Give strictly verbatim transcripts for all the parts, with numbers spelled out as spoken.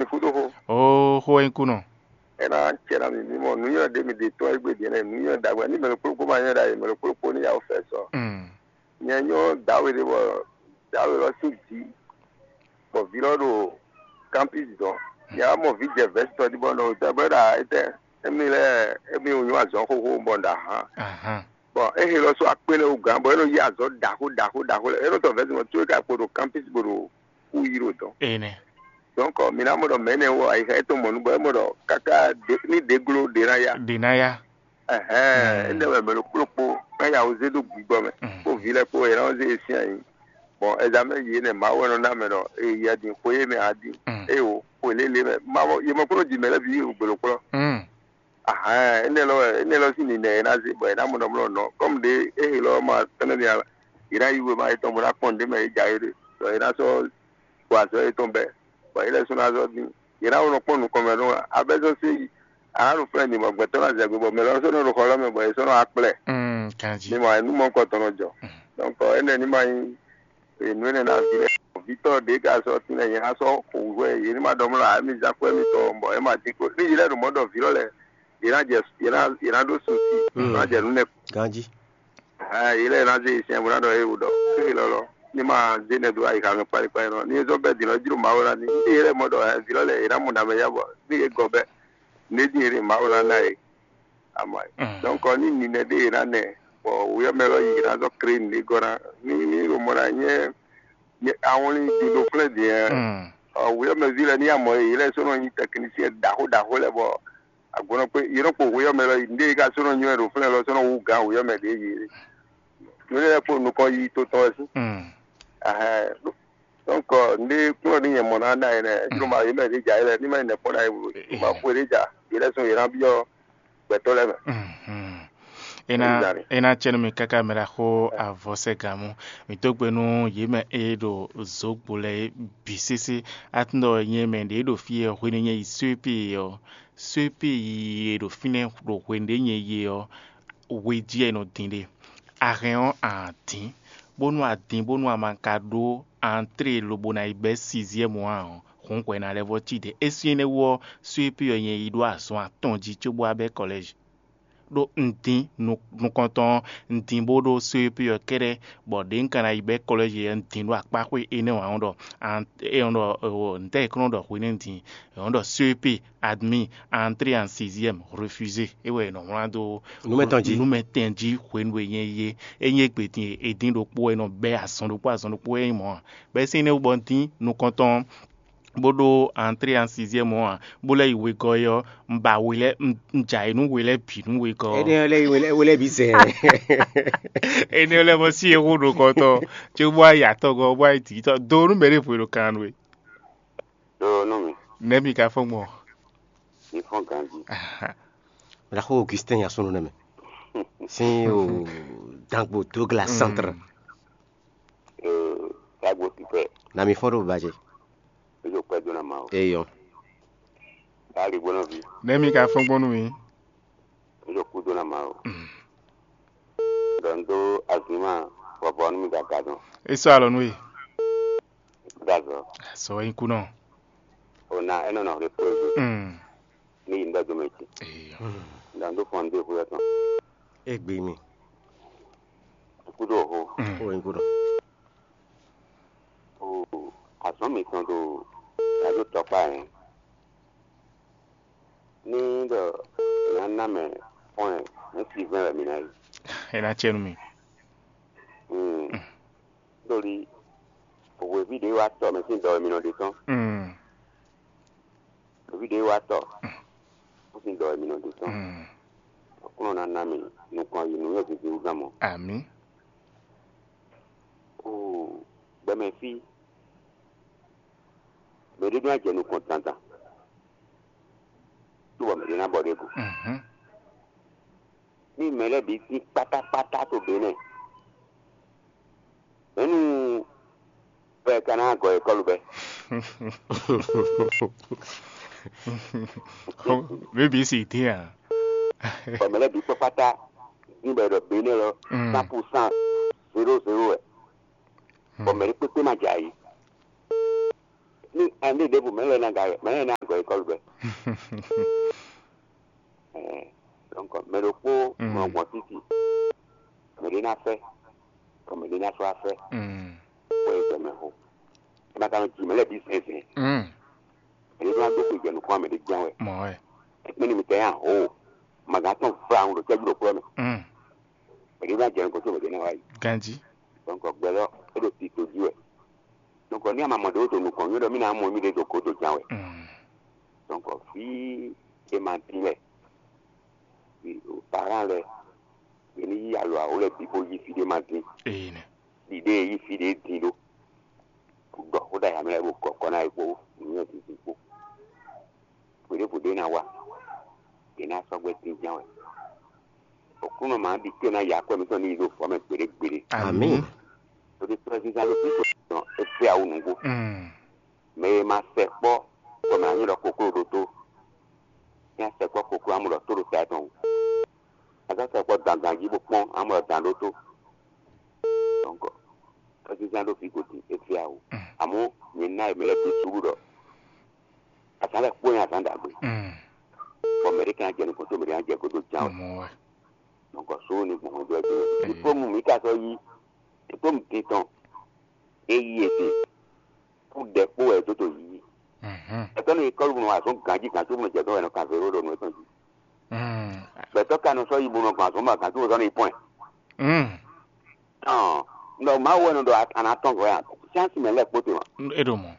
Kúdó xó. Oo, xó wɛ nyí kú nɔ. É ná cɛ ná mi mí mɔ nǔnywɛ́ ɖé mi ɖe tɔ́n égbé din ɛnɛ, nǔnywɛ́ ɖagbe ní mɛ ɖokpó kpó ma nywɛ́ ɖ'ayǐ, mɛ ɖokpó kpó ní yá wɛ fɛ sɔ. Mm. Nyɛ nyɔ́ dǎwe ɖé bɔ dǎwe lɔ sín jǐ bɔ vǐ lɔ ɖo kámpis dɔn. Nyɛ wá mɔ vǐ jɛ vɛ̌sitɔ jí bɔ nɔ dɔ bɔ é ɖo etɛ́ émi lɛ́ɛ émi wò nyɔ́ azɔ̌ xóxó bɔ un ɖo ahǎn. Ahán. Bɔ é he lɔ sɔ́ akpé lɛ́ɛ wú gǎn bɔ é nɔ yí azɔ̌ ɖaxó ɖaxó ɖaxó lɛ́ɛ é nɔ tɔ vɛ̌si mɔ có é ka kpo ɖo kámpis bó ɖo kú yí ɖo dɔn. Énɛ́. Donc mǐ ná mɔ ɖɔ mɛ̌ nɛ́ wɔ ayixa étɔn mɔ nǔ bɔ é mɔ ɖɔ káká ní ɖě gló ɖě ná yá. Ɖě ná yá. Ɛhɛn, énɛ́ wɛ mɛ ɖokpó ɖokpó ná ya wǔ zé dó gbigbɔ mɛ, kpó vǐ lɛ́ɛ kpó yě ná wɔ zé yě sín ayǐ. Bɔn ɛzamɛ yě nɛ Mawu wɛ nɔ ná mɛ ɖɔ è yɛ din xwe e mɛ a din, é o xwe lélé mɛ. Mavɔ yě mɔ kplɔ́n ji mɛ lɛ́ɛ bǐ yi gběɖokplɔ́n. Ahɛn, énɛ́ lɔ wɛ énɛ́ lɔ sín ninɛ è nǎ zé bɔ è nǎ mɔ ɖɔ mlɔ nɔ. Kɔ́mu ɖě é he lɔ ma tɔ́n nɛ́ mia yě ná yí wěma yětɔn bó ná kpɔ́n nǔɖé mɛ é jɛ é ɖe, bɔ è nǎ sɔ́ gbɔ azɔ̌ yětɔn bɛ́, bɔ yě lɛ́ɛ sɔ́ ná zɔ́ dín. Yě ná nɔ kpɔ́n nukɔn mɛ nú abɛ́zɔ́ sé yi. A nǎ ɖo flɛ́n din bɔ gbɛtɔ́ ná zɛ gbe bɔ mɛ lɔ sɔ́ nɔ ɖo xɔ lɔ mɛ bɔ yě sɔ́ nɔ wá kplɛ. Kanjí. Mi mɔ nǔ mɔ̌hunkɔtɔn nɔ jɔ. Donc énɛ́ ní ma nyí nǔ énɛ́ ná ví lɛ́ɛ. Vǐtɔ́ ɖě ka sɔ́ tín lɛ́ɛ nyɛ ná sɔ́ xo hwɛ yě ní ma ɖɔ mlɔ́ ǎ mi zán kwɛ́ mitɔn bɔ é ma dín kó. Ní yě lɛ́ɛ ɖo mɔ̌ ɖɔ vǐ lɔ lɛ́ɛ yě ná jɛ yě ná yě ná ɖó susi ná jɛ nǔ nɛ. Ganjí. Yě lɛ́ɛ ná zé yě sinyɛn bó ná ɖɔ éwu ɖɔ fí lɔlɔ ní ma zé nɛ dó ayixa mɛ kpálikpáli nɔ ní é zɔ́ bɛ́ din lɔ jló Mawu ná ní ní yě lɛ́ɛ mɔ ɖɔ vǐ lɔ lɛ́ɛ yě ná mɔ nǎ mɛ yá bɔ ní yě gɔ bɛ́ ní é dín yě ɖe Mawu ná ná yě. Ama donc ní ninɛ ɖé yě ná nɛ bɔ wǔyɔ́ mɛ lɔ yě ná zɔ́ kré nǔɖé gɔ́ ná ní ní ɖo mɔ ná nyɛ awɔnlin din ɖo flɛ́ din ɛ wǔyɔ́ mɛ ví lɛ́ɛ ní amɔ yě lɛ́ɛ sɔ́ nɔ nyí tɛknisiyɛn ɖaxó ɖaxó lɛ́ɛ bɔ agbɔnɔ kpé yě nɔ kpo hwe ɔ́ mɛ lɔ yi nɖé yě ka sɔ́ nɔ nywɛ́ ɖo flɛ́ lɔ sɔ́ nɔ wú gǎn hwe ɔ́ mɛ ɖě yě nǔ lɛ́ɛ kpo nukɔn yi to tɔn wɛ sín. Ɛhɛn, donc nɖé kplɔ́n ní nyɛ mɔ ná ná yě nɛ́ jló ma yě mɛ ɖě ja yě lɛ́ɛ ní ma nyí nɛ̌ kpɔ́n ná yě wú ma xwe ɖě ja yě lɛ́ɛ sɔ́ yě ná byɔ́ gbɛtɔ́ lɛ́ɛ mɛ. É ná é ná cɛ nú mi káká mɛ ɖaxó avɔsɛ́gamú. Mǐ dó gbe nú yě mɛ e ɖo zǒgbo lɛ́ɛ é bǐ sésé. Atúndɔ nyɛ mɛ ɖě ɖo fí e hwenu nyɛ yi Suépée ɔ́, Suépée yi e ɖo fínɛ́ ɖo hwenu ɖě nyɛ yi ɔ́, hwe jí wɛ è nɔ din ɖe. A hɛn ɔ́, a nǎ dín, bónú a dín bónú a ma ka ɖó antrée lobo ná yi bɛ́ siziɛ́mu ǎ ɔ́, hǔn hwɛ ná lɛ́ vɔ́ cí ɖe. É sín énɛ́ wú ɔ́, Suépée ɔ́ nyɛ yi ɖó azɔn atɔn jí cóbó wá bɛ́ kɔlɛ́zi. Ɖó un dín nukɔntɔn ɔ́, un dín bó ɖó só e ɔ́ kɛ́ɖɛ́, bɔ ɖě un ka ná yi bɛ́ kɔlɛ́zi ɔ́, un dín ɖó akpáxwé énɛ́ ǎ ɔ́ ɖɔ ntɛ́ è kɔn nɔ ɖɔ hwenɛ́nu din, è nɔ ɖɔ só e admis, entrée en sixième, refusé. É wɛ è nɔ wlán dó nǔ mɛtɔn jí. Nǔ mɛtɔn jí hwenu e nyɛ yi é. É nyí égbé din e è dín ɖokpó wɛ è nɔ bɛ́ azɔn ɖokpó azɔn ɖokpó wɛ é nyí mɔ̌ ǎ. Bɔ é sín énɛ́ wú bɔ un dín nukɔntɔn ɔ́, bó ɖó entrée en sixième ɔ́ ǎ, bó lɛ́ yi wegɔ́ é ɔ́, un ba we lɛ́ɛ un ja yě nú we lɛ́ɛ bǐ nú wegɔ́ ɔ́. Énɛ́ ɔ́ lɛ́ yi we lɛ́ɛ we lɛ́ɛ bǐ zɛ. Énɛ́ ɔ́ lɛ́ɛ mɔ sí e xó ɖo kɔtɔn cóbó wá yi atɔgɔ́ bó wá yi dǐtɔ́ do nú mɛ ɖěvo e ɖo kan nú we. Ɖó nú mi. Nɛ̌ mi ka fɔ́n gbɔn? Mi fɔ́n ganjí. Mɛ ɖaxó Augustin Yasunu nɛ mɛ. Sin o dangbo Douglas centre. Dagbo sifɛ. Na mi fɔ́n ɖo bajɛ. Ezo kpɛ dona ma o. Eyɔ. Ali gbɔnɔ vi. Nɛ̌ mi ka fɔ́n gbɔn nú mi? Ezo kú dona ma o. Dɔn do azima bɔbɔ nú mi gaga dɔn. E sɔ alɔ nú e. Dazɔ. Sɔ wɛ nyí kú nɔ. O na enɔ nɔ refo ego. Ní yi ŋɖɔ dome ce. Eyɔ. Dɔn do fɔn do xuyɔ tɔn. Egbe mi. Kú do ho. O nyí kú nɔ. O azɔn mi tɔn do. Yado tɔkpa yẹn. Ní ɖɔ ná ná mɛ fɔ́n ɛ ní si vɛ́n wɛ mi ná yi. É ná cɛ nú mi. Ɖoli hweví ɖě wá tɔ mɛ sín dɔ wɛ mi nɔ ɖe tɔn. Hweví ɖě wá tɔ mɛ sín dɔ wɛ mi nɔ ɖe tɔn. Aklúnɔ ná ná mi nukɔn yi nǔnywɛ́ zǐnzín wú gán mɔ. Amǐ. Oo, gbɛmɛ fí. Mɛ ɖé ɖó ná jɛ nukɔn dandan. Cóbɔ mɛ ɖé ná bɔ ɖě go. Ní mɛ lɛ́ɛ bǐ tín kpátákpátá to Benɛ́. Mɛ̌nu wɛ ka ná gɔ ekɔ́lu bɛ́? B B C dín a? Bɔ mɛ lɛ́ɛ bǐ kpákpátá dín bɔ è ɖɔ Benɛ́ lɔ cent pour cent zéro zéro wɛ. Bɔ mɛ ɖé kpékpé ma jɛ ayǐ. Ní a ní ɖěbǔ mɛ lɛ́ɛ ná ga mɛ lɛ́ɛ ná gɔ école gbɛ. Ɛɛ, donc mɛ ɖokpó nɔ gbɔn títì, mɛ ɖé ná fɛ, bɔ mɛ ɖé ná sɔ́ afɛ, wɛ é gbɛ mɛ xo. É ma ka nɔ ji mɛ lɛ́ɛ bǐ zɛnzɛn. Mɛ ɖé ná dó xwe jɛ nukún mɛ ɖé jɛ́n wɛ. Mɔ̌ wɛ. Ékpé ní mi tɛ yá ho, magǎn tɔn vlawun ɖo cɛ́jú ɖokplɔ́ mɛ. Mɛ ɖé ná jɛ nukún tó mɛ ɖé ná wá yi. Ganjí. Donc gbɛ lɔ é ɖo tito jí wɛ. Donc ní a ma mɔ ɖě wó to nukɔn nywɛ́ ɖɔ mí ná mɔ mí ɖě ɖo gǒdo ján wɛ. Donc fí e ma dín lɛ, parán lɛ, yě ní yí alɔ awo lɛ́ɛ bǐ bó yí fí ɖé ma dín. Ee nɛ. Ɖiɖée e yí fí ɖé dín ɖó. Ɖɔ xó ɖo ayǎ mɛ lɛ́ɛ bó kɔkɔ ná é kpó nǔnywɛ́ dǐndín kpó. Hweɖěvo ɖé ná wa, yě ná sɔ́ gbɛ́ dín ján wɛ. Aklúnɔ ma ɖi té ná ya akwɛ́ mǐtɔn ní yi ɖo vɔ̌ mɛ gbeɖé gbeɖé. Amǐ. Ɖó ɖé tɔ́sísá ló fi tɔn é fɛ awu nǔgbó. Mɛ e ma sɛkpɔ́ bɔ mɛ anyí ɖɔ kokló ɖó tó, ní a sɛkpɔ́ kokló amú ɖɔ tó ɖo ta tɔn wú. A ka sɛkpɔ́ dandan jí bó kpɔ́n amú ɖɔ dan ɖó tó. Donc tɔ́sísá ló fi gǒ din é fɛ awu. Amɔ̌ nyɛ ná e mɛ lɛ́ɛ ɖó suɖu ɖɔ azǎn lɛ́ɛ kpó nyí azǎn ɖagbe. Bɔ mɛ ɖé ka ná jɛ nukɔn tó mɛ ɖé ná jɛ gǒdo ján wɛ. Mɔ̌ wɛ. Donc só ní gbɔn hwɛndo ɛ dó. Diplôme mi ka sɔ́ yí, diplôme din tɔn é yí e din. Kú ɖɛ kpó wɛ dó to yí. Ɛtɔ́ ní kɔ́lù nɔ azɔn ganjí gan tó nɔ jɛ dɔn wɛ nɔ kan zéro ɖo nǔ etɔn jí. Gbɛtɔ́ ka nɔ sɔ́ yi bo nɔ gbɔn azɔn ma gan tó zɔn ní pɔn. Tɔn nɔ Mawu wɛ nɔ ɖɔ ana tɔn gɔ́ ya. Chance mɛ lɛ kpó te ma. E ɖo mɔ.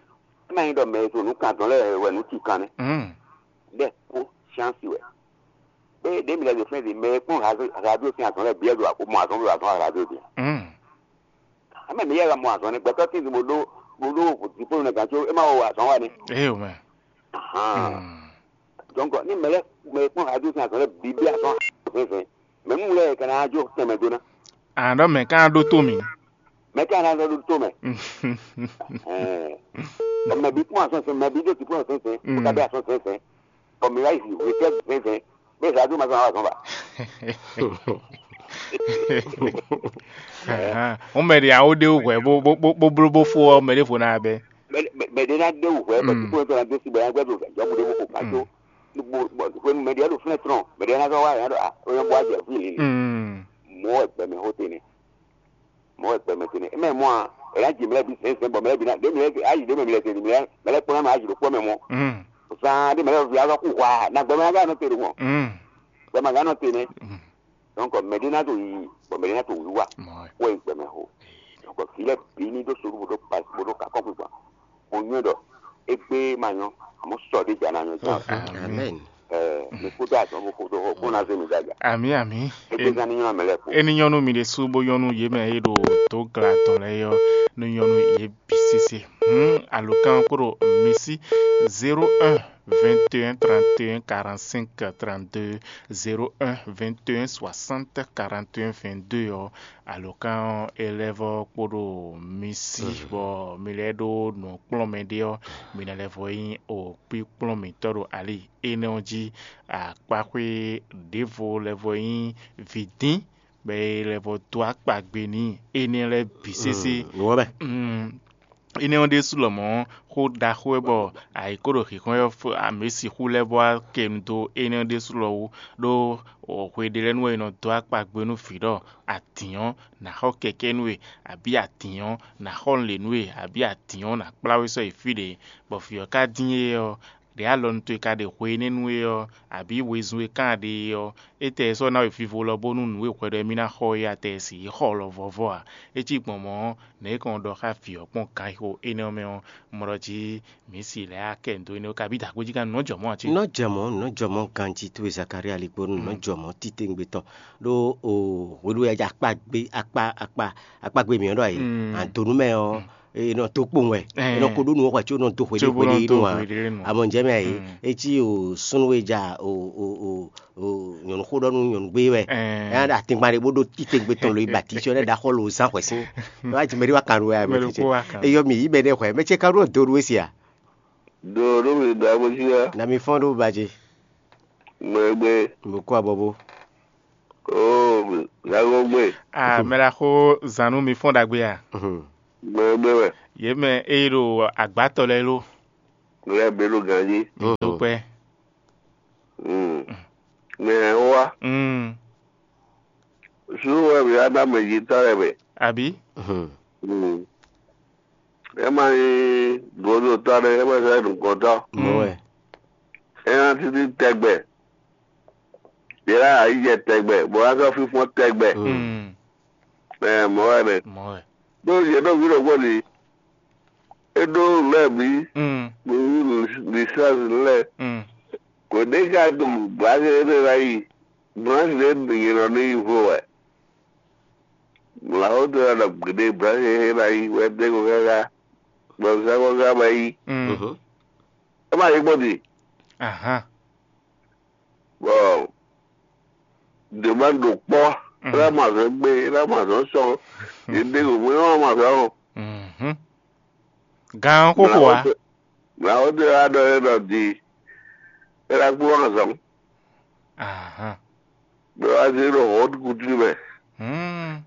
E ma nyí ɖɔ mɛ e to nǔ kan dɔn lɛ wɛ nǔ ci kan nɛ. Ɖɛ kpó chance wɛ. Ée ɖě mi lɛ́ ɖo fɛ́n din, mɛ e kpɔ́n radio sín azɔn lɛ́ɛ bǐ wɛ ɖo mɔ azɔn ɖo azɔn radio din. Ame mi yɛ mɔ azɔn nɛ gbɛtɔ́ tín bo ɖó bo ɖó diplôme nɛ gǎn có é ma wɔ azɔn wa nɛ. Ee o mɛ. Donc ní mɛ lɛ mɛ e kpɔ́n radio sín azɔn lɛ́ɛ bǐ bí azɔn fɛnfɛn, mɛ nú lɛ ka ná jó tɛnmɛ dó ná. Àná ɖɔ mɛ ká ɖó tó mì. Mɛ ká ná ɖó tó mɛ. Ɛɛ, mɛ bí kpɔ́n azɔn fɛnfɛn, mɛ bí ɖó diplôme fɛnfɛn, kó ká bí azɔn fɛnfɛn. Bɔ mi wá yi hwetɛ́ vɛ́vɛ́ bó zǎ dó ma zɔn wá zɔn ba. Ɔn mɛ ɖě awo ɖé wú hwɛ bó bó bó bó bló bó fó ɔ́, mɛ ɖěvo ná bɛ́. Mɛ ɖé ná dé wú hwɛ bɔ tí kò tó ná dé sí bɔ yá gbɛdó jɔbu ɖé bó kó ká tó. Hwenu mɛ ɖě ɖo flɛ́ trɔn, mɛ ɖě ná zɔn wá yá ɖo a ó yá bó wá jɛ fí lǐ. Mɔ̌ wɛ gbɛmɛ xó te nɛ. Mɔ̌ wɛ gbɛmɛ te nɛ. Eme mɔ a, è nǎ ji mɛ lɛ́ɛ bǐ zɛ̌nzɛ̌n bɔ mɛ lɛ́ɛ bǐ ná ɖě mɛ lɛ́ɛ ayi ɖě mɛ mɛ lɛ́ɛ mɛ lɛ́ɛ kpɔ́n ná mɛ ayi ɖokpó mɛ mɔ. Zan ɖé mɛ lɛ́ɛ vǐ azɔ́ kú hwa, nǎ gbɛmɛ ná ká nɔ te ɖo mɔ. Gbɛmɛ ná nɔ te nɛ. Donc mɛ ɖé ná to yiyi, bɔ mɛ ɖé ná to wǐwá. Wɛ gbɛmɛ ho. Donc vǐ lɛ́ɛ bǐ ní ɖó sodú bó ɖó kakɔ́ gbígbá. Mo nywɛ́ ɖɔ égbé ma nyɔ́, àmọ́ sɔ ɖé jà ná nyɔ́ ján. Amen. Ɛɛ, mi kú dó azɔn bó kú dó xɔ kó ná zé mi dó aga. Ami ami. Égbé zán ní nyɔ́ mɛ lɛ́ɛ kú. Eni nyɔnu mi ɖe sú bó nyɔnu yě mɛ e ɖo dó gla tɔn lɛ́ɛ yɔ, nú nyɔnu yě bǐ sésé. Hmm, alokan kúrò mi sí zéro un vingt et un trente et un quarante-cinq trente-deux, zéro un vingt et un soixante quarante et un vingt-deux ɔ́, alokan élève kpóɖo mi sí bɔ mi lɛ́ ɖó nǔ kplɔ́n mɛ ɖé ɔ́, mi ná lɛ́ vɔ nyí o kpíkplɔ́n mǐtɔn ɖo ali énɛ́ ɔ́ jí. Akpáxwé ɖěvo lɛ́ vɔ nyí vǐdín, bɔ é lɛ́ vɔ dó akpagbe n'i énɛ́ lɛ́ɛ bǐ sésé. Nǔ ɔ́ mɛ. Mm, énɛ́ ɔ́ ɖésú lɔmɔ̌ xó ɖaxó wɛ bɔ ayǐ kó ɖo xǐxɔ́n ɔ́ fó amě sixú lɛ́ vɔ wá kɛ nu dó énɛ́ ɔ́ ɖésú lɔ wú, ɖó hwe ɖé lɛ́ɛ nu wɛ è nɔ dó akpagbe nú vǐ ɖɔ adǐn ɔ́ nǎ xɔ kɛkɛ́ nú we, abǐ adǐn ɔ́ nǎ xɔ lě nú we, abǐ adǐn ɔ́ nǎ kplá we sɔ́ yi fí ɖě, bɔ vǐ ɔ́ ka dín é ɔ́, ɖě alɔnu towe ka ɖe hwe énɛ́ nú é ɔ́, abǐ wezun e ka ɖe é ɔ́, étɛ́ sɔ́ ná we vivo lɔ bónú nǔ e hwɛɖɔ émí ná xɔ é atɛ e sixú xɔ lɔ vɔvɔ ǎ? É cí gbɔn mɔ̌, nɛ̌ é kɔn ɖɔ xá vǐ ɔ́ kpɔ́n ganxixo énɛ́ ɔ́ mɛ ɔ́? Mɔ̌ ɖɔ jí mǐ si lɛ̌ akɛ ndo énɛ́ ɔ́, kabí dǎgbéjí ka nǔ nɔ jɔ mɔ̌ ǎ cé? Nɔ jɛ mɔ̌, nɔ jɔ mɔ̌ ganjí towe Zakariyali kpó nɔ jɔ mɔ̌ titewungbe tɔn. Ɖó o hwenu e akpa gbé akpa akpa akpa gbé mǐ ɔ́ ɖɔ ayǐ, àdonú mɛ ɔ́, è nɔ dó kpowun wɛ, è nɔ ko ɖó nǔ wɛ hwɛ có nɔ dó hwe ɖé hwe ɖé nu ǎ. Amɔ̌ jɛ mɛ ayǐ, é cí o súnnu e ja o o o o nyɔ̌nu xó ɖɔ nú nyɔ̌nu gbé wɛ. Ɛ ɖo atingban ɖé bó ɖó titewungbe tɔn lo yi ba titɔ lɛ́ɛ ɖo axɔ lo zán hwɛ sín. Wá jimɛ ɖé wá kan ɖo wɛ amɛ titɛ. Eyɔ mi yi bɛ ɖe hwɛ, mɛ ce ka ɖo do ɖo esi a? Do ɖo mi da bó sia. Na mi fɔn ɖo ba ce. Gbɛgbɛ. Mo kó abɔbó. Oo, lago gbɛ. Ah, mɛ la xó zanu mi fɔn ɖagbe a? Gbɛgbɛ wɛ. Yé mɛ eye ɖo agbátɔ lɛ lo. lɛ́ɛ bǐ ɖo ganjí. Dúpẹ́. Mm. Mɛ ɛ wá. Mm. Sú wɛ mǐ wá ná mɛ yětɔn lɛ́ɛ mɛ. Àbí? Mm. É ma nyí gǒdotɔ́ ɖé, é ma sɔ́ nyí nǔgbɔ́tɔ́. Mɔ̌ wɛ. É ná títí tɛgbɛ. Yě ná yí jɛ tɛgbɛ, bɔ ná sɔ́ fínfɔ́n tɛgbɛ. Mm. Ɛ mɔ̌ wɛ nɛ. Mɔ̌ wɛ. Ɖó yě ɖo vǐ ɖokpó ɖi. É ɖó lɛ́ɛ bǐ. Mm. Ní lǐsánsi lɛ́ɛ. Mm. Kò ɖé ka ɖo blǎkɛ énɛ́ ná yi. Blǎkɛ énɛ́ ɖě yě nɔ ní yi vo wɛ. Mlǎwó tó ná ɖɔ gbeɖé blǎkɛ énɛ́ ná yi wɛ dé ko káká. Gbɔnsá ko ká ma yi. Mm. Mhm. É ma yi gbɔn din. Ahan. Bɔ dě ma ɖo kpɔ́, é ná mɔ azɔn gbé, é ná mɔ azɔn sɔn, yě ɖe ɖo mɛ é má mɔ azɔn o. Mhm. Gan ɔ́ xóxó wá. Mlǎwó ɖé wá ɖɔ é ɖɔ di, é ná kplɔ́n azɔn. Ahan. Bɔ é wá zé ɖo hɔ̌nkutu mɛ. Hmm.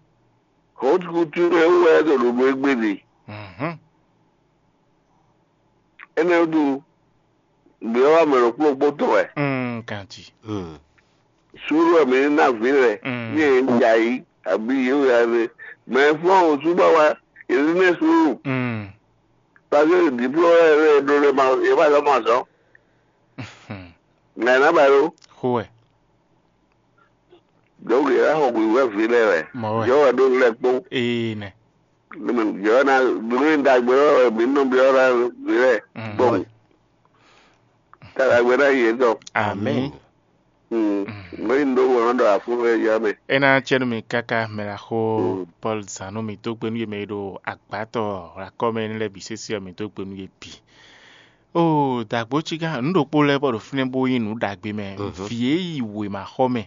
Hɔ̌nkutu mɛ wú wɛ é ɖo ɖo nú égbé ɖe. Mhm. Énɛ́ wútu, nǔ e wá mɛ ɖokpó ɖokpó tɔn wɛ. Mm, kanti. Suúlu wɛ mǐ ní ná vǐ lɛ́ɛ, Mm. ní yě ja yí, abǐ yě wɛ ane. Mɛ e fɔ́n wǒ sú bɔ wá, yě ní mɛ suúlu. Mm. Pase diplôme lɛ́ɛ lɛ́ɛ ɖó lɛ́ɛ ma, yě ma zɔ́ ma zɔ́. Ŋa ná ba ɖó. Xó wɛ. Donc yě ná xɔ hwǐhwɛ́ vǐ lɛ́ɛ wɛ. Mɔ̌ wɛ. Yě wɛ ɖó lɛ́ɛ kpó. Ee nɛ. Yě wɛ ná nǔ ɖagbe wɛ mǐ nɔ byɔ́ ná vǐ lɛ́ɛ. Mm. Gbɔn. Tá ɖagbe ná yě tɔn. Amɛn. Mɔ̌ yi ɖó wɔ nɔ ɖɔ afúnfɛ yá mɛ. É ná cɛ nú mi káká mɛ la xó Paul zán nú mi dó gbe nú yě mɛ e ɖo agbátɔ hwlakɔ́ mɛ énɛ́ lɛ́ɛ bǐ sésé ɔ́, mi dó gbe nú yě bǐ. Oo, dǎgbó cígán nǔ ɖokpó lɛ́ɛ bɔ ɖo fínɛ́ bó nyí nǔ ɖagbe mɛ. Vǐ e yi wěmaxɔmɛ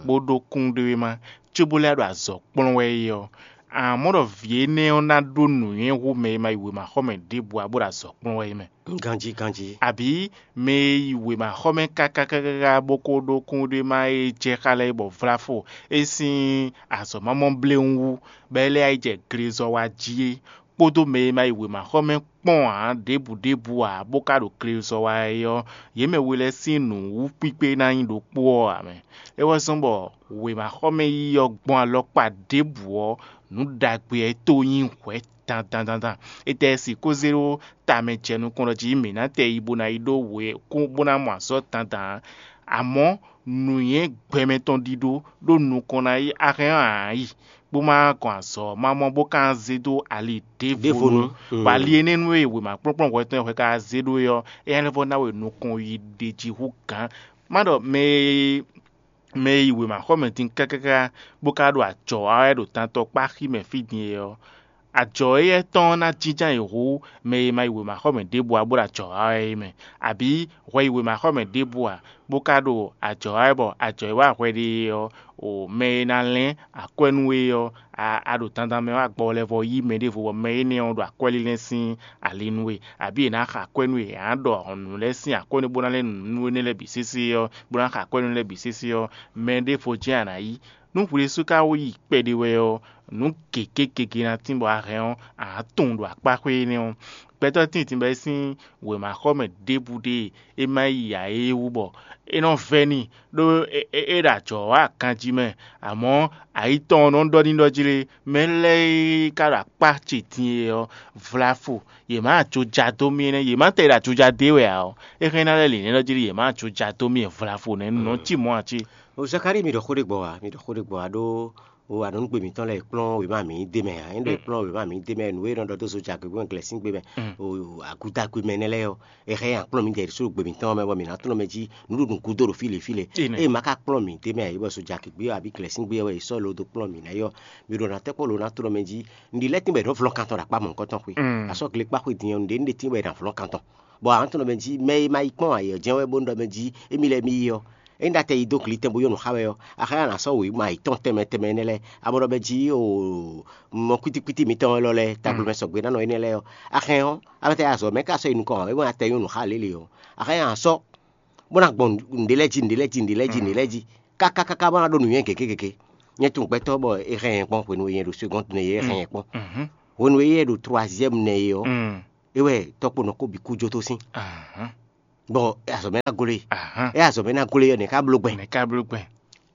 bó ɖó kúnɖéwéma cóbó lɛ́ ɖo azɔ̌ kplɔ́n wɛ é ɔ́, amɔ̌ ɖɔ vǐ énɛ́ ɔ́ ná ɖó nǔnywɛ́ hú mɛ e ma yi wěmaxɔmɛ ɖěbǔ ǎ bó ɖo azɔ̌ kplɔ́n wɛ é mɛ. Ganjí, ganjí. Abǐ mɛ e yi wěmaxɔmɛ káká káká bó ko ɖó kúnɖéwéma e jɛ xá lɛ́ɛ bɔ vlá fo é sín azɔ̌ mamɔ́ bléwún wú, bɔ é lɛ́ yi jɛ glezɔ wa jí é, kpódó mɛ e ma yi wěmaxɔmɛ kpɔ́n ǎ ɖěbǔ ɖěbǔ ǎ, bó ka ɖo glezɔ wa é ɔ́, yě mɛ we lɛ́ɛ sín nǔwúkpíkpé ná nyí ɖokpó ɔ́ ǎ mɛ. É wɛ zɔ́n bɔ wěmaxɔmɛ yiyi ɔ́ gbɔn alɔkpa ɖěbǔ ɔ́, nǔ ɖagbe ɔ́ é tó nyí hwɛ̌ dandan dandan. Étɛ́ sixú zé ɖó tamɛ jɛ nukɔn ɖɔ jí mǐ ná tɛ yi bó ná yi ɖó wě kún bó ná mɔ azɔ̌ dandan ǎ. Amɔ̌, nǔnywɛ́ gbɛmɛ tɔn ɖiɖó ɖó nukɔn ná yi axɛ́n ɔ́ ǎ yi, bó má gɔn azɔ̌ ɔ́ má mɔ bó ka zé dó ali ɖěvo nu. Bɔ ali énɛ́ nú e wěma kplɔ́nkplɔ́n hwɛ tɔn e hwɛ ka zé ɖó é ɔ́, é ná lɛ́ vɔ́ ná we nukɔn yi ɖe jí hú gǎn. Má ɖɔ mɛ e mɛ e yi wěmaxɔmɛ din kákáká bó ka ɖo ajɔ̌ wa wɛ ɖo tantɔkpáxi mɛ fí din é ɔ́, ajɔ̌ éyɛ́ tɔn ɔ́ ná jínjɔ́n ayǐ hú mɛ e ma yi wěmaxɔmɛ ɖěbǔ ǎ bó ɖo ajɔ̌ wa wɛ é mɛ, abǐ hwɛ yi wěmaxɔmɛ ɖěbǔ ǎ bó ka ɖo ajɔ̌ wa wɛ bɔ ajɔ̌ e wa hwɛ ɖe é ɔ́, o mɛ e ná lɛ́n akwɛ́ nú we ɔ́, a a ɖo dandan mɛ wá gbɔ lɛ́ vɔ yí mɛ ɖěvo bɔ mɛ énɛ́ ɔ́ ɖo akwɛ́ lílɛ́ sín ali nú we, abǐ è nǎ xa akwɛ́ nú we, è nǎ ɖɔ nǔ lɛ́ɛ sín akwɛ́ nú bó ná lɛ́ nǔ nú énɛ́ lɛ́ɛ bǐ sésé ɔ́, bó ná xa akwɛ́ nú lɛ́ɛ bǐ sésé ɔ́, mɛ ɖěvo jɛ́n a nǎ yí. Nú hwi ɖésú ka wó yi kpɛɖé wɛ ɔ́, nǔ gěgé gěgé ná tín bɔ a hɛn ɔ́, a nǎ tunwun ɖo akpá xwé énɛ́ ɔ́. Gbɛtɔ́ tíntin bɔ é sín wěmaxɔmɛ ɖěbǔ ɖe e ma yi ǎ é wú bɔ é nɔ vɛ́ n'i, ɖó é é é ɖo ajɔ̌ wa ganjí mɛ, amɔ̌ ayi tɔn ɔ́ nɔ ɖɔ n'i ɖɔ jí lé, mɛ lɛ́ɛ e ka ɖo akpá ce din é ɔ́, vlafo, yě má jó ja dó mì énɛ́, yě má tɛ ɖo ajɔja dó we ǎ ɔ́, é hɛn ná lɛ́ lǐnɛ́ ɖɔ jí lé, yě má jó ja dó mì vlafo nɛ́ nɔ cí mɔ̌ ǎ cé? O Zakalíi, mi ɖɔ xó ɖé gbɔ ǎ, mi ɖɔ xó ɖé gbɔ ǎ ɖó o anɔ̌nugbe mǐtɔn lɛ́ɛ e kplɔ́n wěma mǐ d'é mɛ ǎ. Ényí ɖɔ è kplɔ́n wěma mǐ d'é mɛ, nǔ e è nɔ ɖɔ dó zojagbe kpó glɛ̌síngbe mɛ, o agudagbe mɛ nɛ́ lɛ́ɛ ɔ́, è hɛn nyi akplɔ́n mǐdɛɛ ɖésú ɖo gbe mǐtɔn mɛ bɔ mǐ ná tlɔ́n mɛ jí nǔɖuɖu gúdo ɖo fí lě fí lě. Ényí ma ka kplɔ́n mǐ d'é mɛ ǎ, é bɔ zojagbe ɔ́ abǐ glɛ̌síngbe ɔ́ wɛ è sɔ́ lo dó kplɔ́n mǐ ná é ɔ́, mi ɖo ná tɛ́ kpɔ́n lo ná tlɔ́n mɛ jí. Nǔɖé lɛ́ɛ tín bɔ è nɔ vlɔ́n kan tɔn ɖo akpá mɔ̌hunkɔtɔn xwé. Asɔ́ gle kpá xwé din ɔ́, nǔɖé nǔɖé tín bɔ è nǎ vlɔ́n kan tɔn. Bɔ a nǎ tunɔ mɛ jí mɛ e ma yi kpɔ́n ayǐ ɔ́ jɛ́n wɛ bónú ɖɔ mɛ jí émí lɛ́ɛ mì yi ɔ́, ényí ɖa tɛ yi dó gli tɛn bó yɔ́ nǔ xa wɛ ɔ́, axɔ́ ná sɔ́ wěma yětɔn tɛnmɛ tɛnmɛ énɛ́ lɛ́ɛ, a mɔ ɖɔ mɛ jí o mɔ kwítíkwítí mitɔn élɔ́ lɛ́ɛ, tagblo mɛ sɔgbe ná nɔ énɛ́ lɛ́ɛ ɔ́, axɛn ɔ́, a ma tɛ yi azɔ̌ mɛ ká sɔ́ yi nukɔn ǎ, é ma tɛ nyɔ́ nǔ xa lě lě ɔ́, axɛn ɔ́, a nǎ sɔ́ bó ná gbɔn nǔɖé lɛ́ɛ jí, nǔɖé lɛ́ɛ jí, nǔɖé lɛ́ɛ jí, nǔɖé lɛ́ɛ jí, kákákáká bó ná ɖó nǔnywɛ́ gěgé gěgé. Nyɛ tunwun gbɛtɔ́ bɔ é hɛn nyɛ kpɔ́n hwenu e nyɛ ɖo segɔ́ndu nɛ é hɛn nyɛ kpɔ́n. Hwenu e é ɖo troisième nɛ é ɔ́, É wɛ tɔ́kponɔ kó bǐ kú jó tó sín. Bɔ azɔ̌ mɛ ná glo e. É azɔ̌ mɛ ná glo e ɔ́, nɛ̌ ká bló gbɛn? Nɛ̌ ká bló gbɛn?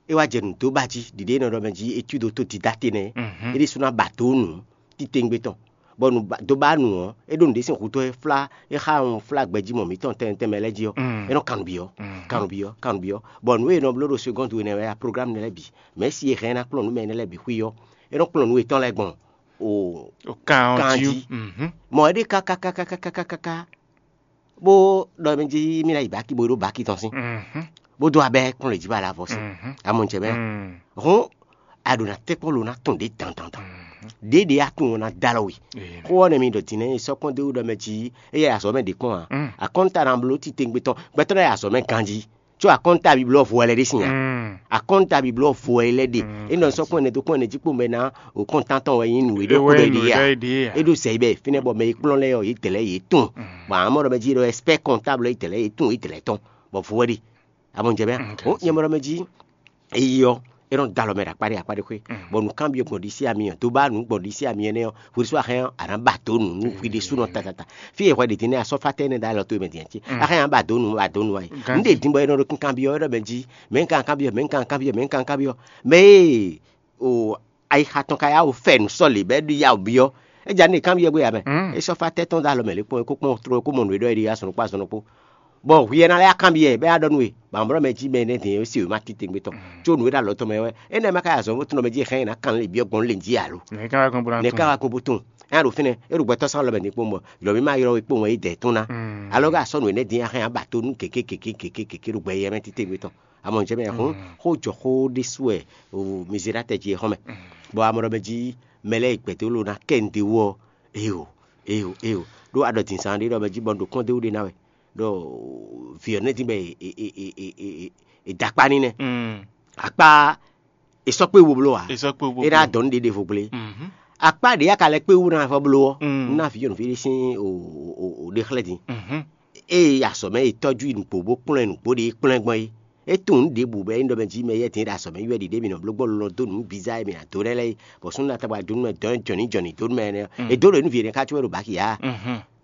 É wá jɛ nǔ dó ba jí ɖiɖe e nɔ ɖɔ mɛ jí étude autodidacte nɛ́. É ɖésú ná ba dó nǔ titewungbe tɔn, bɔ nǔ dó ba nǔ ɔ́, é ɖó nǔɖé sín hutó e flá é xá un flá gbɛjí mɔ mǐtɔn tɛnmɛ tɛnmɛ lɛ́ɛ jí ɔ́, é nɔ kan nǔ byɔ́. Kan nǔ byɔ́, kan nǔ byɔ́, bɔ nǔ e è nɔ bló ɖo segɔ́ndu énɛ́ wɛ a programme nɛ́ lɛ́ɛ bǐ, mɛ̌ si e hɛn ná kplɔ́n nǔ mɛ énɛ́ lɛ́ɛ bǐ xwí ɔ́, é nɔ kplɔ́n nǔ yětɔn lɛ́ɛ gbɔn o kan jí. Mɔ é ɖe káká káká káká káká, bó ɖɔ mɛ jí mì ná yi baki bó ɖó baki tɔn sín, bó dó abɛ kplɔ́n lě jí ba la vɔ sín. Amɔ jɛ mɛ hɔn a ɖo na tɛ́ kpɔ́n lo ná tɔn ɖě dan dan dan. Ɖě ɖě a tunwun ná dó alɔ we. Xó ɔ́ nɛ mi ɖɔ din nɛ́ sɔ́ kpɔ́n dó ɖɔ mɛ jí éyɛ́ azɔ̌ mɛ ɖě kpɔ́n ǎ. Akɔ́nta ná bló titewungbe tɔn, gbɛtɔ́ lɛ́ɛ azɔ̌ mɛ ganjí. Có akɔ́nta biblɔ vo wɛ lɛ́ ɖe sin a? Akɔ́nta biblɔ vo wɛ lɛ́ ɖe. É nɔ sɔ́ kpɔ́n ɛnɛ dó kpɔ́n ɛnɛ jí kpó mɛ ná o kɔ́ntan tɔn wɛ nyí nǔ e ɖó xó ɖɔ é ɖe a? É ɖó zɛ yi bɛ fínɛ́ bɔ mɛ e kplɔ́n lɛ́ɛ ɔ́, yě dɛ̌ lɛ́ɛ yě tunwun. Bɔ amɔ́ ɖɔ mɛ jí ɖɔ expert comptable yě dɛ̌ lɛ́ɛ yě tunwun yě dɛ̌ lɛ́ɛ tɔn, bɔ vo wɛ ɖe. A mɔ jɛ mɛ o nyɛ mɔ ɖɔ mɛ jí eyi ɔ́, é nɔ da alɔ mɛ ɖo akpá ɖé akpá ɖé xwé, bɔ nǔkanbyɔ́ gbɔn ɖisí ami ɔ́, dó ba nǔ gbɔn ɖisí ami ɛnɛ́ ɔ́, hwesú axɛ́n ɔ́, a nǎ ba dǒ nǔ nú hwi ɖésúnɔ tatata. Fí e hwɛ ɖě din nɛ́ a sɔ́ fá tɛ́ nɛ́ ɖo alɔ towe mɛ din ɔ́ cí, axɛ́n a ba dǒ nǔ, ba dǒ nǔ a yi. Nǔ ɖě din bɔ é nɔ ɖo kankanbyɔ́ wɛ ɖɔ mɛ jí, mɛ̌ un ka kanbyɔ́, mɛ̌ un ka kanbyɔ́, mɛ̌ un ka kanbyɔ́, mɛ e o ayixa tɔn ka yá wǔ fɛ nǔ sɔ́ lě bɔ é ɖo yá wǔ byɔ́. É ja nú è kanbyɔ́ gbé ǎ mɛ. É sɔ́ fá tɛ́ tɔn dó alɔ mɛ lě kpɔ́n é kó kpɔ́n tló é kó mɔ nǔ e ɖɔ é ɖe azɔn ɖokpó azɔn ɖokpó. Bɔ hwi ɛ ná lɛ́ kanbyɔ́ ɛ bɔ é ná ɖɔ nú we, bɔ amɔ̌ mɛ jí mɛ énɛ́ din e sí wěma titewungbe tɔn, có nǔ e ɖo alɔ tɔn mɛ wɛ, énɛ́ ma ka yi azɔ̌ bó tunɔ mɛ jí xɛn nyi ná kan lě byɔ́ gbɔn lě jí alo? Nɛ̌ ká wá gbɔn bó ná Nɛ̌ ká tunwun? Wá gbɔn bó tunwun? É ná ɖo fínɛ́, é ɖo gbɛtɔ́ sán lɔ mɛ din kpɔ́n bɔ yɔ̌ mì ma ylɔ́ we kpó wɛn é dɛ̌ tún ná. Alɔ ka sɔ́ nǔ énɛ́ din axɛ́ ná ba tó nú gěgé gěgé gěgé gěgé ɖo gbɛ yɛ mɛ titewungbe tɔn. Amɔ jɛ mɛ hɔn, xó jɔ xó ɖésú wɛ o mi zé ɖó atɛ jí é xɔ́n mɛ. Bɔ amɔ ɖɔ mɛ jí mɛ lɛ́ɛ yi gbɛ̌ dó lo ná kɛ un ɖe wú ɔ́, éyo, éyo, éyo. Ɖó a ɖɔ din zán ɖé ɖɔ mɛ jí bɔ un ɖo kɔ́n dó wú ɖé ná wɛ. Ɖɔ vǐ ɔ́ nɛ́ dín bɔ è da akpá n'i nɛ́. Akpá è sɔ́ kpé wo bló ǎ. É ná dɔn nú ɖěɖevo gblé. Akpá ɖě a ka lɛ́ kpé wú ná vɔ bló ɔ́, un ná vǐ nyɔ̌nuví ɖé sín ɖe xlɛ́ din. Ée azɔ̌ mɛ è tɔ́jú i nǔgbó bó kplɔ́n ɛ nǔgbó ɖě é kplɔ́n ɛ gbɔn é. É tunwun nǔ ɖěbǔ bɔ é nyí ɖɔ mɛ jí mɛ yɛ́ din ɖo azɔ̌ mɛ yi wɛ ɖiɖe mǐ nɔ bló gbɔn lɔlɔ̃ dó nǔ bizá e mǐ ná dó lɛ́ lɛ́ɛ é, bɔ súnnu ná tɔgba dó nú mɛ dɔn jɔ̌nǐ jɔ̌nǐ dó nú mɛ énɛ́ ɔ́. È dǒ ɖo nǔ vǐ énɛ́ ká có wɛ ɖo bǎki ǎ.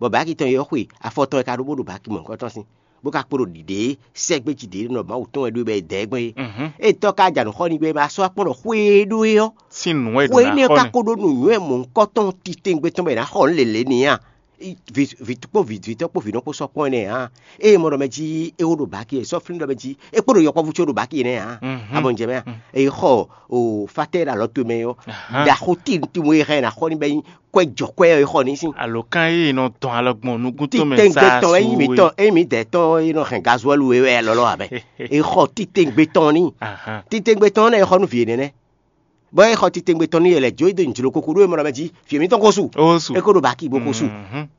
Bɔ bǎki tɔn e ɔ́ xwe afɔ tɔn e ka ɖó bó ɖo bǎki mɔ̌hunkɔ tɔn sín, bó ka kpo ɖo ɖiɖě sɛ́gbéjí ɖě nɔ Mawu tɔn wɛ ɖó bɔ è dɛ̌ gbɔn é. Ée tɔ́ ka ja nǔ xɔ n'i bɔ é ma sɔ́ akpɔ́n ɖɔ xwé e ɖó é ɔ́, sín nǔ wɛ è ɖǒ xwé ná énɛ́ xɔ ɔ́ ka n'i. Ko ɖó nǔnywɛ́ mɔ̌hunkɔtɔn titewungbe tɔn bɔ è nǎ xɔ nǔ lělé n'i a? Vǐ kpó vǐ tɔn kpó vǐ nɔ kpó sɔ́ kpɔ́n énɛ́ ǎ. Ée mɔ ɖɔ mɛ jí é wó ɖo bǎki é, sɔ́ flín ɖɔ mɛ jí é kpó ɖo yɔkpɔ́vú có ɖo bǎki énɛ́ ǎ. A mɔ jɛ mɛ a? È xɔ o fatɛ́ ɖo alɔ towe mɛ ɔ́, ɖaxó tíntínmú e hɛn ná xɔ ní bɔ é nyí kwɛ́ jɔ kwɛ́ ɔ́, è xɔ ní sín. Alo kan e nɔ dɔn alɔ gbɔn nukún tɔn mɛ Titɛngbé sa tɔn é nyí su mǐtɔn, é nyí mǐdɛɛ tɔn é nɔ hɛn gazwɛ́lu é wɛ lɔlɔ ǎ mɛ. È xɔ titɛngbé tɔn ní. Titɛngbé tɔn ɔ́ nɛ è xɔ nú vǐ énɛ́ nɛ́. Bɔ é xɔ titewungbe tɔn n'i yě lɛ́ jó e dó nyǐjló kúkú ɖó e mɔ ɖɔ mɛ jí fí mǐtɔn ko su. Ó su. É ko ɖo bǎki bó ko su.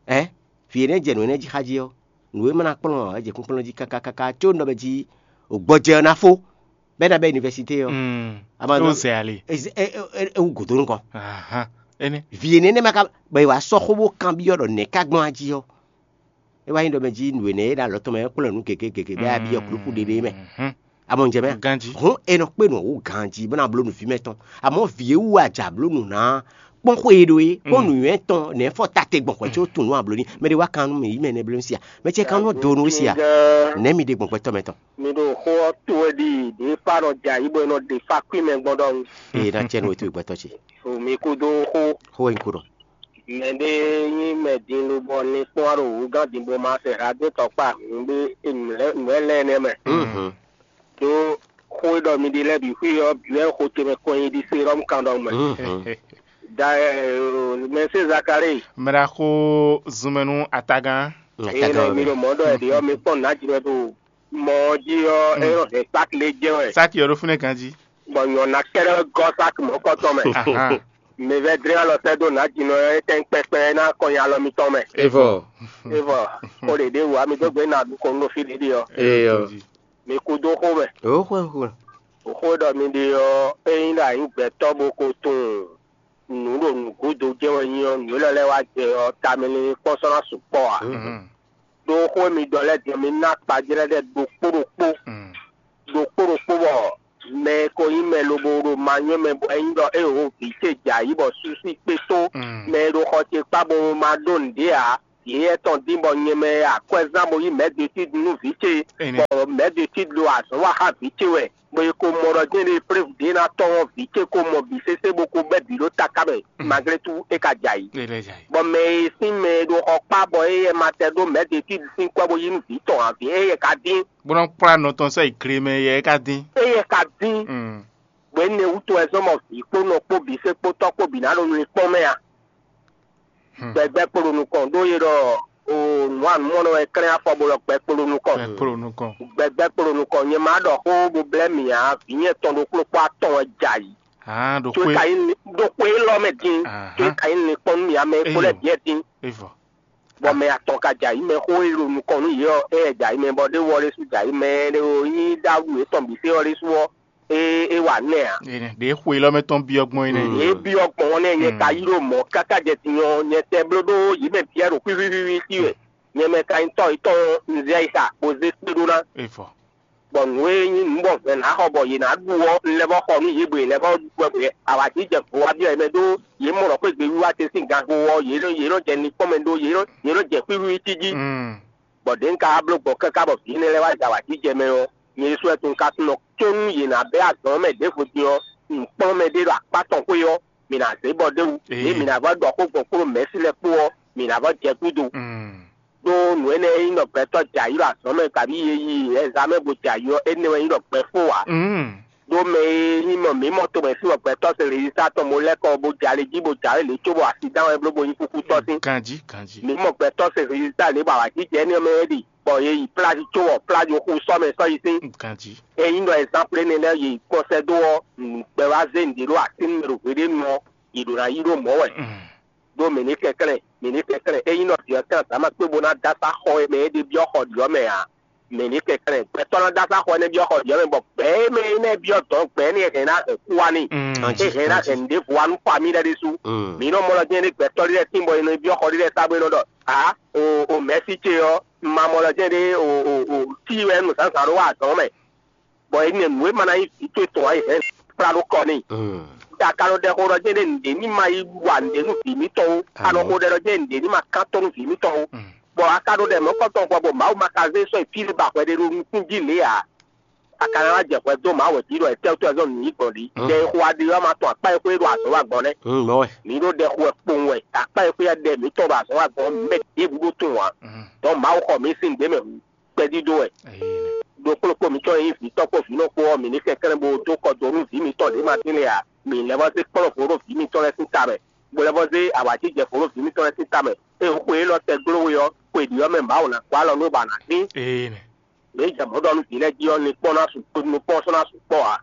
Ɛ, vǐ énɛ́ jɛ nǔ énɛ́ jí xá jí ɔ́, nǔ e ma ná kplɔ́n ǎ, é jɛ kpínkplɔ́n jí káká káká có nɔ mɛ jí o gbɔjɛ ɔ́ ná fó, bɛ́ ná bɛ́ univɛsité ɔ́. Ama Ó zɛ ali. É wú gǒdó nukɔn. Ahan. Énɛ́. Vǐ énɛ́ nɛ́ ma ka bɔ è wǎ sɔ́ xó bó kanbyɔ́ ɖɔ nɛ̌ ká gbɔn á jí ɔ́. É wá nyí ɖɔ mɛ jí nǔ énɛ́ e ɖo alɔ tɔn mɛ ɔ́ kplɔ́n nǔ gěgé gěgé bɔ é wá byɔ́ kúlúkú ɖéɖé mɛ. Mhm. A mɔ jɛ mɛ. Ganjí. Hǔn è nɔ kpé nǔ wú ganjí bó ná bló nǔvíme tɔn. Amɔ̌ vǐ e wú a jǎ bló nǔ ná kpɔ́n xwe e ɖó é kpɔ́n nǔnywɛ́ tɔn nɛ̌ fɔ ta te gbɔn hwɛ có tunwun nú a bló ní. Mɛ ɖé wá kan nú mì yí mɛ nɛ́ bló nú sia. Mɛ ce kan nú do nú we sia. Nɛ̌ mi ɖe gbɔn gbɛtɔ́ mɛ tɔn? Mi ɖo xó ɔ́ to wɛ ɖi ɖě fa nɔ jɛ ayǐ bɔ è nɔ ɖe fa kwín mɛ gbɔn ɖɔhun. Ee, ná cɛ nú we towe gbɛtɔ́ ce. O mi kúdó xó. Xó e un ko ɖɔ. Mɛ ɖé nyí mɛ din lobɔ ní kpɔ́n ɖo wǔgán din bó ma sɛ ha dó tɔkpá nǔ ɖé nǔ lɛ́ɛ nɛ́ mɛ. Mhm. Ɖó xó e ɖɔ mi ɖi lɛ́ɛ bǐ xwí ɔ́ bǐ wɛ xo ce mɛ kɔn nyi ɖi serɔ́mu kan ɖɔ mɛ. Mhm. Da mɛsɛn Zakalée. Mɛ ɖaxó zunmɛ nú atagán. Eye nɔ mi ɖo mɔ̌ ɖɔ ɛ ɖě ɔ́ mi kpɔ́n nǎ jlɛ ɖo mɔ ɔ́ jí ɔ́ é nɔ hɛn sáki lé jɛ wɛ. Sáki ɔ́ ɖo fínɛ́ ganjí. Bɔ nyɔ̌ná kɛ́ɖɛ́ gɔ́ sáki mɔ̌kɔtɔn mɛ. Ahan. Mi vɛ́ dlɛ́n alɔ sɛ́ dó nǎjínɔ e tɛ́n kpɛkpɛ e ná kɔn nyi alɔ mitɔn mɛ. Evɔ. Evɔ, xó ɖě ɖé wǔ wá mi dó gbe nɔ aɖukɔnu ɖo fí ɖě ɖe ɔ́. Eyɔ. Mi kú dó xó mɛ. Oxwɛxwɛ. Xó e ɖɔ mi ɖe ɔ́, ényí ɖo anyǐ gbɛtɔ́ bó ko tunwun nǔ ɖo nǔgúdo jɛ́n wɛ nyí ɔ́, nǔ élɔ́ lɛ́ɛ wá jɛ ɔ́, tamɛ linlin kpɔ́n sɔ́ ná sukpɔ́ ǎ. Mhm. Ɖó xó e mi ɖɔ lɛ́ɛ din ɔ́, mi ná akpajlɛ́ lɛ́ɛ ɖokpó ɖokpó. Mm. Ɖokpó ɖokpó bɔ mɛ e ko nyí mɛ lobo ɖo ma nywɛ́ mɛ bɔ é nyí ɖɔ é ho vǐ ce jɛ ayǐ bɔ súsú kpé tó mɛ e ɖo xɔ ce kpá bo ma ɖó nǔɖé ǎ. vǐ éyɛ́ tɔn dín bɔ nyɛ mɛ e akwɛ́zán bo yí mɛ̌ de tídi nú vǐ ce, bɔ mɛ̌ de tídi ɖo azɔ̌ wa xá vǐ ce wɛ, bɔ è ko mɔ ɖɔ jɛ́n ɖe flévu ɖě ná tɔ́n ɔ́, vǐ ce ko mɔ bǐ sésé bó ko bɛ́ bǐ ɖó taká mɛ, maglé tú é ka jɛ ayǐ. Bɔ mɛ e sín mɛ e ɖo xɔ kpá bɔ éyɛ́ ma tɛ ɖó mɛ̌ de tídi sín kwɛ́ bó yí nú vǐ tɔn ǎ, vǐ éyɛ́ ka dín. Bó nɔ́ kplá nɔ tɔn sɔ́ yi gle mɛ yɛ é ka dín. Éyɛ́ ka dín. Mm. Bɔ énɛ́ wútu wɛ zɔ́n mɔ vǐ kpó nɔ kpó bǐ sé kpó tɔ́ kpó bǐ ná ɖo nukpɔ́n mɛ a? Gbɛgbɛ́ kpo ɖo nukɔn ɖó yě ɖɔ o nǔ anǔmɔnɔ wɛ klɛ́n afɔ bo ɖɔ gbɛ kpo ɖo nukɔn. Gbɛ kpo ɖo nukɔn. Gbɛgbɛ́ kpo ɖo nukɔn, nyɛ ma ɖɔ xó bo blɛ́ mì ǎ, vǐ nyɛ tɔn ɖokpó kpó atɔn wɛ jɛ ayǐ. Hǎn ɖo Tó é xwé. Ka nyí ɖo xwé élɔ́ mɛ din, tó é Ahán. Ka nyí linkpɔ́n nú mì ǎ, mɛ e kpo lɛ́ɛ Eyo. Bǐ wɛ din. Evɔ. Bɔ mɛ atɔn ka jɛ ayǐ mɛ xó e ɖo nukɔn nú yě ɔ́, é wɛ jɛ ayǐ mɛ bɔ ɖé wɔ ɖésú jɛ ayǐ mɛ, ɖé o nyí ɖaɖu yětɔn bǐ fé ɔ́ ɖésú ɔ́, é é wa nɛ́ ǎ. Énɛ́ ɖě xwe élɔ́ mɛ tɔn byɔ́ gbɔn é nɛ́. Yě byɔ́ gbɔn ɔ́ nɛ́ nyɛ ka yi ɖo mɔ̌ káká jɛ din ɔ́, nyɛ tɛ bló ɖó yě mɛ byɔ́ ɖo xwíxwíxwí sí wɛ. Nyɛ mɛ ka nyí tɔ́ yětɔn un zɛ yi xa bó zé kpé ɖó ná. Evɔ. Bɔ nǔ e nyí nǔ bɔ vɛ̌ ná xɔ bɔ yě ná ɖu ɔ́, un lɛ́ vɔ́ xɔ nú yě bɔ yě lɛ́ vɔ́ ɖu wɛ bɔ awǎjijɛ vo wá byɔ́ yě mɛ ɖó yě mɔ ɖɔ xwé gbe wiwa ce sín ganxo ɔ́, yě nɔ yě nɔ jɛ linkpɔ́n mɛ ɖó yě nɔ yě nɔ jɛ xwíxwí cí jí. Mm. Bɔ ɖě un ka wá bló gbɔn káká bɔ vǐ énɛ́ lɛ́ɛ wá jɛ awǎjijɛ mɛ ɔ́, nyɛ ɖésú wɛ tunwun ka tunɔ có nú yě ná bɛ́ azɔ̌ ɔ́ mɛ ɖěvo din ɔ́, un kplɔ́n mɛ ɖé ɖo akpá tɔn xwé ɔ́, mǐ ná zé bɔ ɖ'é wú. Lě e mǐ ná vɔ́ ɖɔ xó gbɔn kpó ɖo mɛ̌si lɛ́ɛ kpó ɔ́, mǐ ná vɔ́ jɛ gúdo. Mm. Ɖó nǔ énɛ́ e nyí ɖɔ gbɛtɔ́ jɛ ayǐ ɖo azɔ̌ mɛ kabí e yi ɛzamɛ bo jɛ ayǐ ɔ́, énɛ́ wɛ nyí ɖɔ gbɛ fó ǎ. Mm. Ɖó mɛ e nyí mɔ mǐ mɔ tomɛ fí bɔ gbɛtɔ́ se rezilita tɔn bo lɛ́ kɔ bo jɛ ali jí bo jɛ ali lě cóbɔ asidán wɛ bló bo nyí kúkútɔ́ sín. Ganjí, ganjí. Mǐ mɔ gbɛtɔ́ se rezilita lě bɔ awǎjijɛ énɛ́ mɛ é ɖi, bɔ è yi pláji cóbɔ pláji xu sɔ́ mɛ sɔ́ yi sín. Ganjí. Ényí ɖɔ ɛzánplé énɛ́ lɛ́ɛ yě yi kpɔ́n sɛ́ dó ɔ́, nǔgbɛ wá zé nǔɖé ɖó así nú mɛ ɖo hweɖénu ɔ́, yě ɖó ná yí ɖó mɔ̌ wɛ. Mm. Ɖó mǐ ní kɛnklɛ́n, mǐ ní kɛnklɛ́n. Ényí nɔ vǐ ɔ́ kɛn azǎn ma kpé bó ná dó asá xɔ e mɛ é ɖe byɔ́ xɔ ɖiɔ́ mɛ ǎ, mǐ ní kɛnklɛ́n. Gbɛtɔ́ ná dó asá xɔ énɛ́ byɔ́ xɔ ɖiɔ́ mɛ, bɔ gbɛ̌ e mɛ énɛ́ byɔ́ dɔ̌n gbɛ̌ énɛ́ hɛn ná hɛn kú wá n'i. Mm. É hɛn ná hɛn nǔɖévo wá nú famí lɛ́ɛ ɖésú. Mm. Mǐ nɔ mɔ lɔ jɛ́n ɖé gbɛtɔ́ ɖé lɛ́ɛ tín bɔ è nɔ byɔ́ xɔ ɖé lɛ́ɛ sá bó é nɔ ɖɔ ǎ, o o mɛ̌si ce ɔ́, un ma mɔ lɔ jɛ́n ɖé o o o tí wɛ nǔzánzán ɖó wa azɔ̌ mɛ. Bɔ è nɛ nǔ e ma ná nyí vǐ towe tɔn ǎ, è hɛn kplá ɖó kɔ n'i. Mm. Ɖo a ka nɔ ɖɛ xó ɖɔ jɛ́n ɖé nǔɖé ní ma yi wa nǔɖé nú vǐ mǐtɔn ó. A nɔ xó ɖɛ ɖɔ jɛ́n nǔɖé ní ma kán tɔ́ nú vǐ mǐtɔn ó. Mm. Bɔ a ka ɖo ɖɛ mɔ̌kɔtɔn gbɔ bɔ Mawu ma ka zé sɔ́ yi fí ɖé ba hwɛ ɖé ɖo nukún jí lě ǎ. A ka ná wá jɛ hwɛ dó Mawu wɛ jí ɖɔ è tɛ́ wútu wɛ zɔ́n nǔ yí gbɔn ɖi. Mm. Jɛ e xo aɖi ɔ́ ma tɔn akpá e xwé ɖo azɔ̌ wa gbɔn nɛ́. Mm, mɔ̌ wɛ. Mǐ ɖo ɖɛ xo wɛ kpowun wɛ, akpá e xwé ɖɛ mǐtɔn ɖo azɔ̌ wa gbɔn mɛ ɖěbǔ ɖó tunwun ǎ. Mm. Dɔ̌n Mawu xɔ mǐ sín nǔɖé mɛ kpɛdídó wɛ. Ɖo kplɔ́kpó mǐtɔn e nyí vǐtɔ́ kpó vǐnɔ kpó ɔ́, mǐ ní kɛnklɛ́n bó dó kɔ do nú vǐ mǐtɔn ɖě ma tín lé ǎ. Mǐ lɛ́ vɔ́ zé kplɔ́n vo ɖó vǐ mǐtɔn lɛ́ɛ sín ta mɛ, bó lɛ́ vɔ́ zé awǎjijɛ vo ɖó vǐ mǐtɔn lɛ́ɛ sín ta mɛ. Ée xwe élɔ́ tɛ gló we ɔ́, xwe ɖě ɔ́ mɛ Mawu ná gɔ́ alɔ nú bɔ a nǎ tín. Ee nɛ. Mǐ jɛ mɔ̌ ɖɔ nú vǐ lɛ́ɛ jí ɔ́, nukpɔ́n ná su nukpɔ́n sɔ́ ná sukpɔ́ ǎ.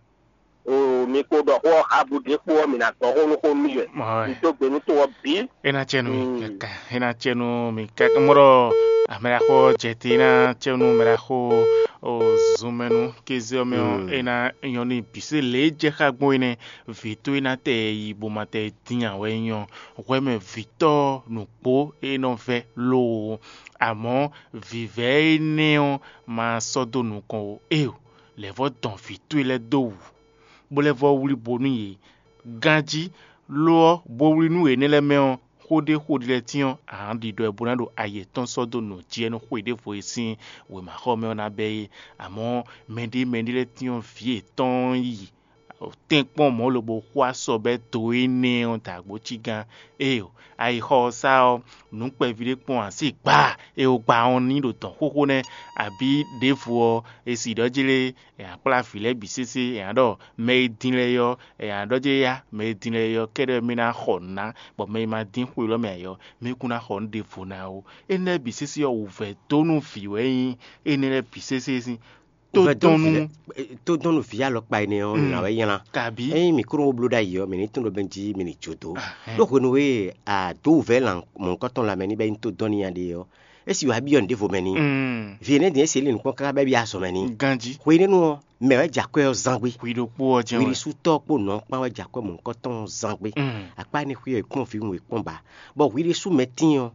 Oo, mi kpo ɖɔ xó ɔ́ xá bǔ ɖěkpo ɔ́, mi ná gbɔ xó nú xó nú mì wɛ. Mɔ̌ wɛ. Mi dó gbe nú to ɔ́ bǐ. É ná cɛ nú mi Mm. kaka, é ná cɛ nú mi kaka. Mɔ́ ɖɔ amɛɖaxó ɔ́ jɛ te, é ná cɛ nú mɛɖaxó o zunmɛnu kéze ɔ́ mɛ ɔ́, Mm. é ná nyɔ́ n'i bǐ. Sé lě e jɛ xá gbɔn é nɛ́, vǐ towe ná tɛ yi bó ma tɛ dín ǎ wɛ é nyɔ́. Hwɛ mɛ vǐtɔ́ nǔgbó e nɔ vɛ́ loo, amɔ̌ vǐvɛ́ énɛ́ ɔ́ ma sɔ́ dó nukɔn ó. Éeǒ, lɛ̌ vɔ́ dɔn vǐ towe lɛ́ɛ dó wǔ, bó lɛ́ vɔ́ wlí bo nú yě. Ganjí, lo ɔ́, bo wlí nú énɛ́ lɛ́ɛ mɛ ɔ́, xó ɖé xó ɖé lɛ́ɛ tínɔ́, a nǎ ɖiɖɔ ɛ bó ná ɖo ayi yětɔn sɔ́ dó nǔ jí wɛ nú xwe ɖěvo e sín wěmaxɔmɛ ɔ́ ná bɛ́ é. Amɔ̌, mɛɖé mɛɖé lɛ́ɛ tínɔ́ vǐ yětɔn yi tɛ́nkpɔ́n mɔ̌ lobo xo asɔ bɛ́ do énɛ́ ɔ́ dǎgbó cí gán. Éeǒ, ayixɔ ɔ́ sá ɔ́, nǔ kpɛví ɖé kpɔ́n ǎ sí gbaa, è wo gba ɔ́ ní ɖo dɔ̌n xóxó nɛ́, abǐ ɖěvo ɔ́, è si ɖɔ jí lé, è nǎ kplá vǐ lɛ́ɛ bǐ sésé, è nǎ ɖɔ mɛ e din lɛ́ɛ é ɔ́, è nǎ ɖɔ jí yá mɛ e din lɛ́ɛ é ɔ́ kɛ́ɖɛ́ mɛ ná xɔ nǔ ná, bɔ mɛ e ma dín xwe élɔ́ mɛ ǎ é ɔ́, mɛ kún ná xɔ nǔ ɖěvo ná ó. Énɛ́ bǐ sésé ɔ́, wǔvɛ́ dó nú vǐ wɛ nyí énɛ́ lɛ́ɛ bǐ sésé sín. Tó Vɛ̌ dɔn dɔn nú vǐ lɛ́ɛ, eh, tó dɔn nú vǐ alɔkpa énɛ́ ɔ́, Mm. nǎ wɛ nylá. Kabí? Ényí mǐ kó ɖó bó bló ɖ'ayǐ ɔ́, mǐ ní tunwun ɖɔ bɛ́ jí mǐ ní jó dó. Ahɛn. Ɖó hwenu e a dǒ wǔvɛ́ lan mɔ̌hunkɔtɔn lanmɛ ní bɛ́ nyí tó dɔn n'i a ɖe ɔ́, é sì wá byɔ́ nǔɖévo mɛ n'i. Mm. Vǐ énɛ́ din é sì é lin nǔ kpɔ́n káká bɛ́ byɔ́ azɔ̌ mɛ n'i. Ganjí. Hwenɛ́nu ɔ́, mɛ wɛ́ jɛ akwɛ́ ɔ́ zán gbé. Hwi ɖokpó ɔ́ jɛ́n wɛ. Hwiɖisútɔ́ kpó nǔ ɔ́ kpán wɛ jɛ akwɛ́ mɔ̌hunkɔtɔn zán gbé. Mm. Akpá énɛ́ xwé ɔ́, è kpɔ́n vǐ wun è kpɔ́n ba. Bɔ hwiɖisú mɛ tíin ɔ́,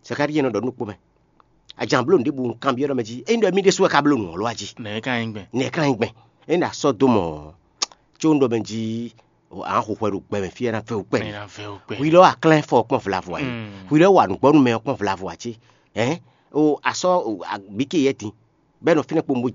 Zakalíi nɔ ɖɔ nú kpó mɛ. Ajan bló nǔɖébǔ un kanbyɔ́ ɖɔ mɛ jí, ényí ɖɔ mì ɖésú wɛ ka bló nǔ ɔ́ lɔ a jí? Nɛ̌ é ka nyí gbɛn? Nɛ̌ é ka nyí gbɛn? Ényí ɖɔ a sɔ́ dó mɔ̌ ɔ́, có un ɖɔ mɛ jí Ǎ xo hwɛ ɖo gbɛ mɛ fí ɛ ná vɛ́ wú kpɛɖi. Mɛ ná vɛ́ wú kpɛ. Hwi lɛ́ wa klɛ́n fɔ kpɔ́n vlavo ǎ cé? Mm. Hwi lɛ́ wa nǔgbɔ́nú mɛ ɔ́ kpɔ́n vlavo ǎ cé? Hɛn o asɔ bíké yɛ din bɛ́ nɔ fínɛ́ kpo mo